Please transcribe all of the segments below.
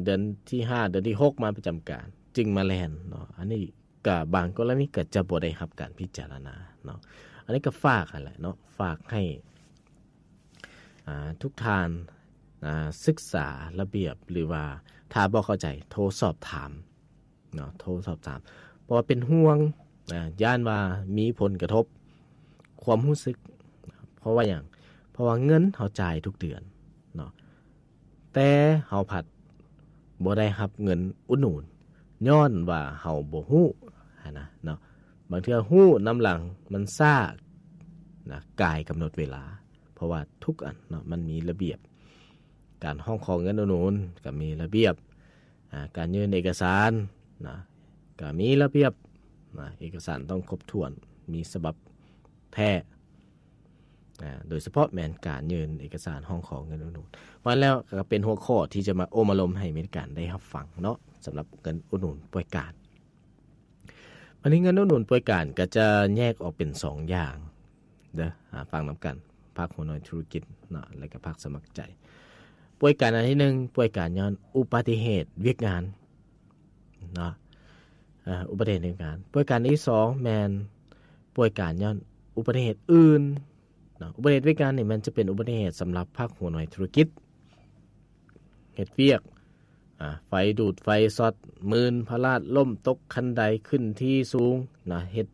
ເດືອນທີຫ້າ ເດືອນທີຫົກມາປະຈຳການ ຈຶ່ງມາແລ່ນເນາະ. ອັນນີ້ກໍບາງກໍລະນີກໍຈະບໍ່ໄດ້ຮັບການພິຈາລະນາເນາະ. ອັນນີ້ກໍຝາກຫັ້ນແຫຼະເນາະ ຝາກໃຫ້ ອ່າ ທຸກທ່ານ ອ່າ ສຶກສາລະບຽບ ຫຼືວ່າຖ້າບໍ່ເຂົ້າໃຈໂທສອບຖາມເນາະ ໂທສອບຖາມ ເພາະວ່າເປັນຫ່ວງ ອ່າ ຢ້ານວ່າມີຜົນກະທົບຄວາມຮູ້ສຶກ. ເພາະວ່າຫຍັງ? ເພາະວ່າເງິນເຮົາຈ່າຍທຸກເດືອນເນາະ ແຕ່ເຮົາພັດບໍ່ໄດ້ຮັບເງິນອຸດໜູນ ຍ້ອນວ່າເຮົາບໍ່ຮູ້ຫັ້ນນະເນາະ. ບາງເທື່ອຮູ້ນຳຫຼັງມັນຊ້ານະ ກາຍກຳນົດເວລາ ເພາະວ່າທຸກອັນເນາະ ມັນມີລະບຽບ. ການຮ້ອງຂໍເງິນອຸດໜູນກໍມີລະບຽບ ອ່າ ການຍື່ນເອກະສານນະ ກໍມີລະບຽບນະ ເອກະສານຕ້ອງຄົບຖ້ວນ ມີສະບັບແທ້ ອ່າ ໂດຍສະເພາະແມ່ນການຍື່ນເອກະສານຮ້ອງຂໍເງິນອຸດໜູນ. ວ່າແລ້ວກໍເປັນຫົວຂໍ້ທີ່ຈະມາໂອ້ມອາລົມໃຫ້ມີການໄດ້ຮັບຟັງເນາະ ສຳລັບເງິນອຸດໜູນປ່ວຍການ. ບັດນີ້ເງິນອຸດໜູນປ່ວຍການກໍຈະແຍກອອກເປັນສອງຢ່າງເດີ ອ່າ ຟັງນຳກັນ ພາກຫົວໜ່ວຍທຸລະກິດເນາະ ແລະກໍພາກສະໝັກໃຈ. ປ່ວຍການອັນທີໜຶ່ງ ປ່ວຍການຍ້ອນອຸບັດຕິເຫດວຽກງານເນາະ ເອີ ອຸບັດຕິເຫດວຽກງານ. ປ່ວຍການອັນທີສອງແມ່ນປ່ວຍການຍ້ອນອຸບັດຕິເຫດອື່ນເນາະ. ອຸບັດຕິເຫດວຽກງານນີ້ແມ່ນຈະເປັນອຸບັດຕິເຫດສຳລັບພາກຫົວໜ່ວຍທຸລະກິດ ເຮັດວຽກ ອ່າ ໄຟດູດ ໄຟຊັອດ ມື່ນ ພະລາດ ລົ້ມຕົກຄັນໄດ ຂຶ້ນທີ່ສູງນະ ເຮັດ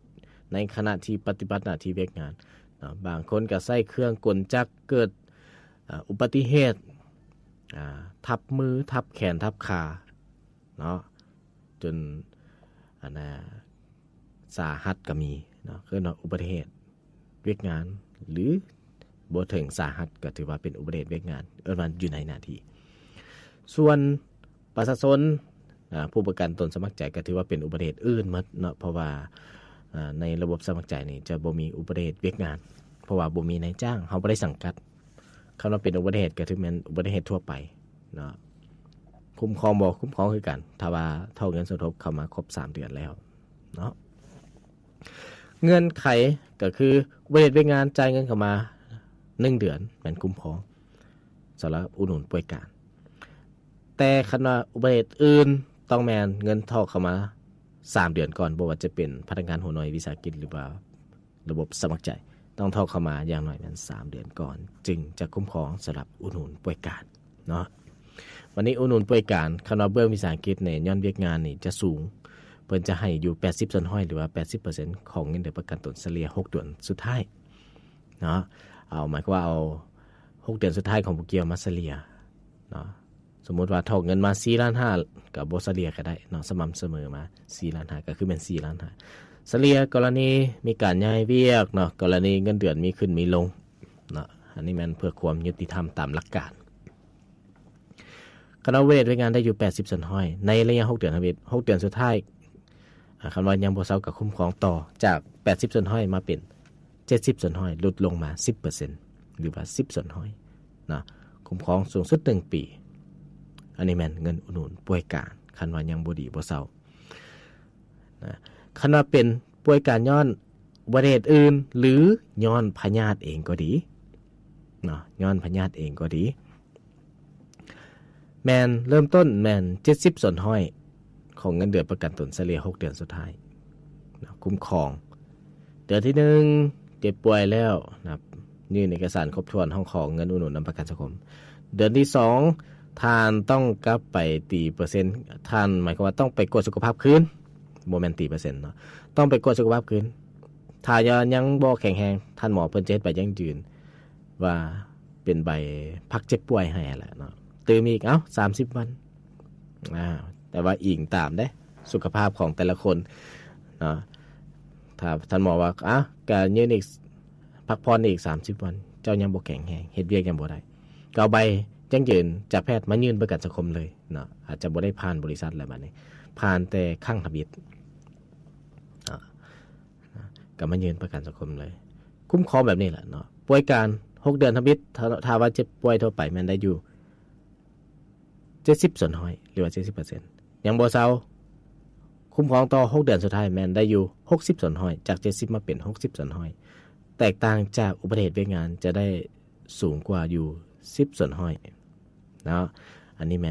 ໃນຂະນະທີ່ປະຕິບັດໜ້າທີ່ວຽກງານນະ. ບາງຄົນກໍໃຊ້ເຄື່ອງກົນຈັກ ເກີດ ອ່າ ອຸບັດຕິເຫດ ອ່າ ທັບມື ທັບແຂນ ທັບຂາເນາະ ຈົນ ອັນນ່າ ສາຫັດກໍມີເນາະ ເອີ້ນວ່າອຸບັດຕິເຫດວຽກງານ ຫຼືບໍ່ເຖິງສາຫັດກໍຖືວ່າເປັນອຸບັດຕິເຫດວຽກງານ ເອີ້ນວ່າຢູ່ໃນໜ້າທີ່. ສ່ວນປະຊາຊົນ ອ່າ ຜູ້ປະກັນຕົນສະໝັກໃຈກໍຖືວ່າເປັນອຸບັດຕິເຫດອື່ນໝົດເນາະ ເພາະວ່າ ອ່າ ໃນລະບົບສະໝັກໃຈນີ້ຈະບໍ່ມີອຸບັດຕິເຫດວຽກງານ ເພາະວ່າບໍ່ມີນາຍຈ້າງ ເຮົາບໍ່ໄດ້ສັງກັດ. ຄຳວ່າເປັນອຸບັດຕິເຫດກໍຖືແມ່ນອຸບັດຕິເຫດທົ່ວໄປເນາະ ຄຸ້ມຄອງບໍ່? ຄຸ້ມຄອງຄືກັນ ຖ້າວ່າຖອກເງິນສົມທົບເຂົ້າມາຄົບສາມເດືອນແລ້ວເນາະ. ເງື່ອນໄຂກໍຄື ອຸບັດຕິເຫດວຽກງານ ຈ່າຍເງິນເຂົ້າມາໜຶ່ງເດືອນ ແມ່ນຄຸ້ມຄອງສຳລັບອຸດໜູນປ່ວຍການ. ແຕ່ຄັນວ່າອຸບັດຕິເຫດອື່ນ ຕ້ອງແມ່ນເງິນຖອກເຂົ້າມາສາມເດືອນກ່ອນ ບໍ່ວ່າຈະເປັນພະນັກງານຫົວໜ່ວຍວິສາຫະກິດ ຫຼືວ່າ ລະບົບສະໝັກໃຈ ຕ້ອງຖອກເຂົ້າມາຢ່າງໜ້ອຍແມ່ນສາມເດືອນກ່ອນ ຈຶ່ງຈະຄຸ້ມຄອງສຳລັບອຸດໜູນປ່ວຍການເນາະ. ບັດນີ້ອຸດໜູນປ່ວຍການ ຄັນວ່າເບື້ອງວິສາຫະກິດນີ້ ຍ້ອນວຽກງານນີ້ຈະສູງ ເພິ່ນຈະໃຫ້ຢູ່ແປດສິບສ່ວນຮ້ອຍ ຫຼືວ່າແປດສິບເປີເຊັນຂອງເງິນເດືອນປະກັນຕົນສະເລ່ຍຫົກເດືອນສຸດທ້າຍເນາະ. ເອົາ ໝາຍຄວາມວ່າເອົາຫົກເດືອນສຸດທ້າຍຂອງຜູ້ກ່ຽວມາສະເລ່ຍເນາະ. ສົມມຸດວ່າຖອກເງິນມາສີ່ລ້ານຫ້າ ກໍບໍ່ສະເລ່ຍກໍໄດ້ເນາະ ສະໝ່ຳສະເໝີມາສີ່ລ້ານຫ້າ ກໍຄືແມ່ນສີ່ລ້ານຫ້າ. ສະເລ່ຍກໍລະນີມີການຍ້າຍວຽກເນາະ ກໍລະນີເງິນເດືອນມີຂຶ້ນມີລົງເນາະ ອັນນີ້ແມ່ນເພື່ອຄວາມຍຸຕິທຳຕາມຫຼັກການ. ຄັນວ່າເວດວຽກງານໄດ້ຢູ່ແປດສິບສ່ວນຮ້ອຍ ໃນໄລຍະຫົກເດືອນທຳອິດ ຫົກເດືອນສຸດທ້າຍ ອ່າ ຄັນວ່າຍັງບໍ່ເຊົາກໍຄຸ້ມຄອງຕໍ່ ຈາກແປດສິບສ່ວນຮ້ອຍມາເປັນເຈັດສິບສ່ວນຮ້ອຍ ຫຼຸດລົງມາສິບເປີເຊັນ ຫຼືວ່າສິບສ່ວນຮ້ອຍເນາະ ຄຸ້ມຄອງສູງສຸດໜຶ່ງປີ. ອັນນີ້ແມ່ນເງິນອຸດໜູນປ່ວຍການ ຄັນວ່າຍັງບໍ່ດີບໍ່ເຊົານະ. ຄັນວ່າເປັນປ່ວຍການຍ້ອນອຸບັດຕິເຫດອື່ນ ຫຼື ຍ້ອນພະຍາດເອງກໍດີເນາະ ຍ້ອນພະຍາດເອງກໍດີ ແມ່ນເລີ່ມຕົ້ນແມ່ນເຈັດສິບສ່ວນຮ້ອຍຂອງເງິນເດືອນປະກັນຕົນສະເລ່ຍຫົກເດືອນສຸດທ້າຍນະ ຄຸ້ມຄອງ. ເດືອນທີໜຶ່ງເຈັບປ່ວຍແລ້ວນະ ຍື່ນເອກະສານຄົບຖ້ວນ ຮ້ອງຂໍເງິນອຸດໜູນນຳປະກັນສັງຄົມ. ເດືອນທີສອງ ທ່ານຕ້ອງກັບໄປຕີເປີເຊັນ ທ່ານ ໝາຍຄວາມວ່າຕ້ອງໄປກວດສຸຂະພາບຄືນ ບໍ່ແມ່ນຕີເປີເຊັນເນາະ ຕ້ອງໄປກວດສຸຂະພາບຄືນ. ຖ້າຍັງບໍ່ແຂງແຮງ ທ່ານໝໍເພິ່ນຈະເຮັດໃບຢັ້ງຢືນ ວ່າເປັນໃບພັກເຈັບປ່ວຍໃຫ້ຫັ້ນແຫຼະເນາະ ຕື່ມອີກ ເອົ້າ ສາມສິບວັນ ອ່າ ແຕ່ວ່າອີງຕາມເດ້ ສຸຂະພາບຂອງແຕ່ລະຄົນເນາະ. ຖ້າທ່ານໝໍວ່າ ອ່າ ກະຍື່ນອີກ ພັກຜ່ອນອີກສາມສິບວັນ ເຈົ້າຍັງບໍ່ແຂງແຮງ ເຮັດວຽກຍັງບໍ່ໄດ້ ກໍເອົາໃບຢັ້ງຢືນຈາກແພດມາຍື່ນປະກັນສັງຄົມເລີຍເນາະ ອາດຈະບໍ່ໄດ້ຜ່ານບໍລິສັດແລ້ວ ບັດນີ້ຜ່ານແຕ່ຄັ້ງທຳອິດເນາະ. ນະ ກໍມາຍື່ນປະກັນສັງຄົມເລີຍ ຄຸ້ມຄອງແບບນີ້ແຫຼະເນາະ. ປ່ວຍການຫົກເດືອນທຳອິດ ຖ້າ ຖ້າວ່າເຈັບປ່ວຍທົ່ວໄປແມ່ນໄດ້ຢູ່ເຈັດສິບສ່ວນຮ້ອຍ ຫຼືວ່າເຈັດສິບເປີເຊັນ ຍັງບໍ່ເຊົາ ຄຸ້ມຄອງຕໍ່ຫົກເດືອນສຸດທ້າຍແມ່ນໄດ້ຢູ່ຫົກສິບສ່ວນຮ້ອຍ ຈາກເຈັດສິບມາເປັນຫົກສິບສ່ວນຮ້ອຍ ແຕກຕ່າງຈາກອຸບັດຕິເຫດວຽກງານຈະໄດ້ສູງກວ່າຢູ່ສິບສ່ວນຮ້ອຍເນາະ. ອັນນີ້ແມ່